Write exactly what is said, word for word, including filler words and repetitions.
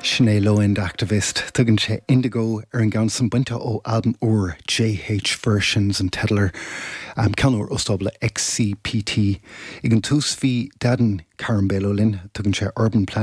Sin é Low End Activist tugann sé Indigo ar an gceann san bainte ó albam úr JH Versions an teideal air um, ceann úr ó stábla XCPT. Ag an tús bhí Deadan Carambelo linn tugann sé Urban Plan